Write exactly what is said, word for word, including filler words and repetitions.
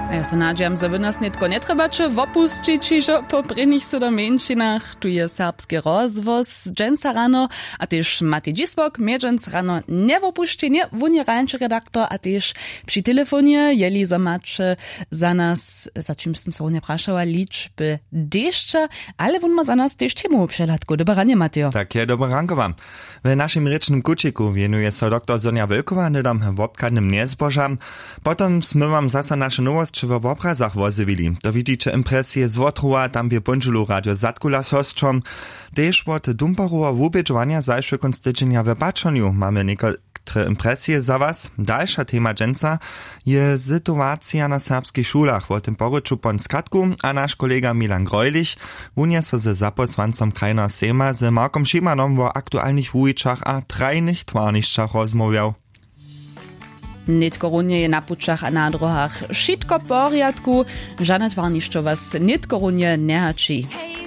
A ja so nadźijam, zo wy nas nětko njetrjebaće wopusćić hižo po prěnich sydomjeńšinach. Tu je serbski rozhłos dźensa rano, a tež matej dźisłok mjedźens rano njewopušćenje. Wón je rańši redaktor a tež při telefonje, jeli zo maće za nas, za čimž sym so runje prašała, ličby dešća, ale wón ma za nas tež temowu přehladku. Dobre ranje, matejo. Tak je, dobre rankowa. W našim rěčnym kućiku wěnuje so doktor Sonja Wölkowa hnydom wobchadnym njezbožam. Potom smy wam zaso naše nowosće wo wobrazach wozjewili. To widźiće impresije z wotrowa, tam bě póndźelu radio zadkula z hosćom. Tež wot dumperowa wubědźowanja zašły kónc tydźenja w pačonju mamy někotre impresije za was. Dalša tema dźensa je situacija na serbskich šulach, wo tym porěču pon skatku, a naš kolega Milan Greulich wón je so ze zapósłancom krajneho sejma z Markom Šimanom wo aktualnych wuwićach a trajnych twarnišćach rozmołwjał. Nětko runje je na pućach a na dróhach wšitko w porjadku. Žane twarnišćo was nětko runje njehaći.